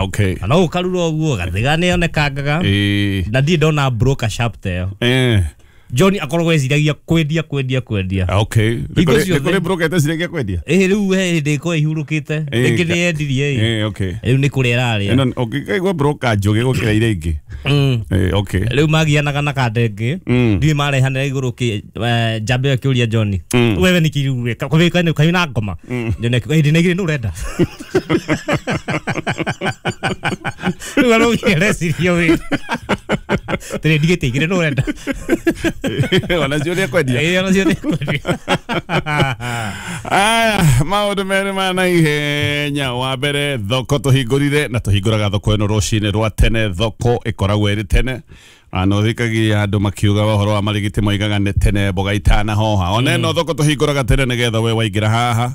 Okay. Na no ũkarura ũguo gathiga nĩ onekangaga. Ĩĩ. Na ndirĩ ndona broker sharp ta ĩyo. John akoragwo eciragia kwendia kwendia kwendia. Okay. Hingo Nĩ ciothe. kũrĩ broker ĩteciragia kwendia? Ĩĩ, rĩu he hĩndĩ ĩkorwo ihurũkĩte. Rĩngĩ nĩ yendirie ĩ. Eh, okay. Rĩu nĩ kũrĩa ĩrarĩa. Ĩno ũngĩkaigua broker njũgĩ gũkĩra iria ingĩ. Eh, okay. Rĩu magianaga na kandenge. Ndiũĩ marehanĩra igũrũ kĩ njambe ĩyo ĩkĩũria John. Wewe nĩ kĩrĩ ũreka kaĩ na ngoma. John akiuga hĩndĩ na igĩrĩ nĩ ũrenda. Rĩu araugia areciria wĩ. Tĩrĩ ndigĩte igĩrĩ nĩ ũrenda. Ona cio nĩ ekwendia. Ĩĩ, ona cio nĩ ekwendia. Aya, maũndũ merĩ ma naihenya. Wa mbere, thoko tũhingũrire na tũhingũraga thoko ĩno rũcinĩ rwa tene. Thoko ĩkoragwo ĩrĩ tene na ũthikagia andũ makiuga ũhoro wa marigiti moigaga nĩ tene mboga itanahoha. Ona ĩno thoko tũhingũraga tene nĩgetha we waingĩra haha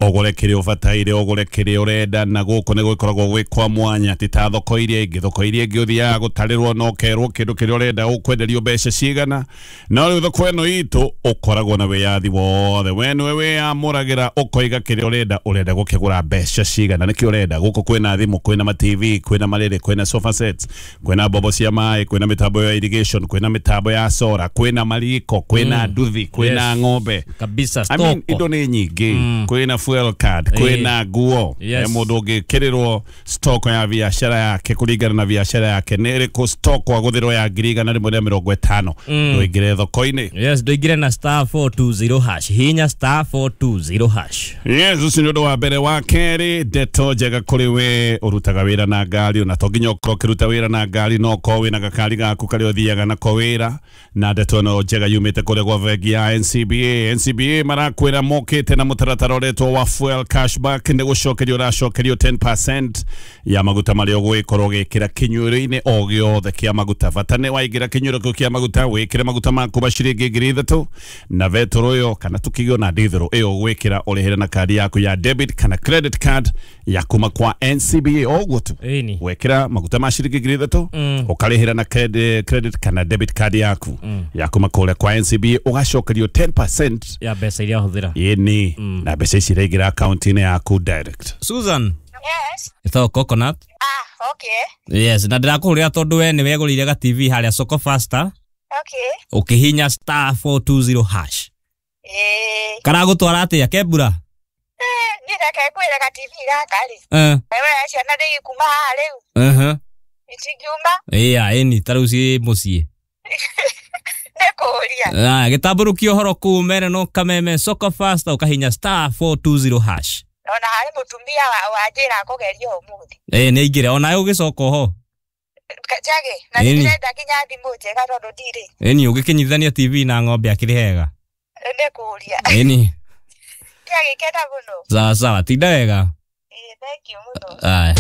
ũgũre kĩrĩa ũbataire, ũgũre kĩrĩa ũrenda, na gũkũ nĩ gwĩkoragwo gwĩ kwa mwanya, ti ta thoko iria ingĩ. Thoko iria ingĩ ũthiaga gũtarĩrwo na ũkerwo kĩndũ kĩrĩa ũrenda ũkwenderio mbeca cigana, no rĩu thoko ĩno itũ ũkoragwo na wĩyathi wothe, we nĩwe wĩyamũragĩra ũkoiga kĩrĩa ũrenda, ũrenda gũkĩgũra mbeca cigana, nĩkĩo ũrenda. Gũkũ kwĩna thimũ, kwĩna ma TV, kwĩna marĩrĩ, kwĩna sofa sets, kwĩna mbombo cia maĩ, kwĩna mĩtambo ya irrigation, kwĩna mĩtambo ya solar, kwĩna mariko, kwĩna nduthi, kwĩna ng'ombe. Kabisa. I mean, stoko. Indo nĩ nyingĩ, kwĩna fuel card, kwĩna nguo. Yes. Mũndũ ũngĩkĩrĩrwo stock ya biacara yake kũringana na biacara yake nĩ ĩrĩkũ, stock wagũthĩrwo ya 150,000, ndũingĩre thoko-inĩ. Yes, ndũingĩre na *420#, hinya *420#. Yes, ũcio nĩ ũndũ wa mbere. Wa kerĩ, ndeto njega kũrĩ we ũrutaga wĩra na ngari, ona to nginya ũkorwo ũkĩruta wĩra na ngari, no ũkorwo wĩna gakari gaku karĩa ũthiaga nako wĩra. Na ndeto ĩno njega yumĩte kũrĩa gwa bengi ya NCBA. NCBA marakwĩra mokĩte na mũtaratara ũretwo wa fuel cashback, nĩ gũcokerio ũracokerio 10% ya maguta marĩa ũgũgĩkorwo ũgĩkĩra kĩnyuĩro-inĩ o gĩothe kĩa maguta. Bata nĩ waingĩra kĩnyuĩro kĩu kĩa maguta wĩkĩre maguta maku ma ciringi 3,000 na betũrũ ĩyo kana tũkĩgio na ndithũrũ ĩyo ũgwĩkĩra ũrĩhĩre na kandi yaku ya debit kana credit card ya kuma kwa NCBA, o ũguo tu. Ĩni. Wekĩra maguta ma ciringi 3,000, ũkarĩhĩra na credit kana debit card yaku ya kuma kũrĩa kwa NCBA, ũgacokerio 10% ya mbeca iria wahũthĩra. Ĩni, na mbeca ici iraingĩra akaunti-inĩ yaku direct. Susan. Yes. Ĩtagwo Coconut. Ah, okay. Yes, na ndĩrakũhũrĩra tondũ we nĩ wegũrĩire ga TV harĩa Soko Faster. Okay. Ũkĩhinya *420#. Eh, Karagũtwara atĩa kembura? Niĩ reke ngwĩre ga TV gaka rĩ. Wewe ciana ndĩgĩkuma haha rĩu. Itingiuma. Ĩya, ĩni ta rĩu ciĩ mũciĩ. Nĩ kũũria. Aya, gĩtambũrũkia ũhoro kũu mere no kameme Soko Faster ũkahinya *420#. Ona harĩ mũtumia wanjĩra kũgeria ũmũthĩ. Ĩĩ, nĩ aingĩre onawe ũgĩcoka oho. Njage, na Ĩni. ndĩrenda nginya thimũ njega tondũ ndirĩ. Ĩni ũgĩkĩnyitithania TV na ng'ombe akĩrĩ hega. Nĩ kũũria. Ĩni. Ndiagĩkena mũno. Sawa sawa, tinda wega. Ĩĩ, thank you mũno. Aya.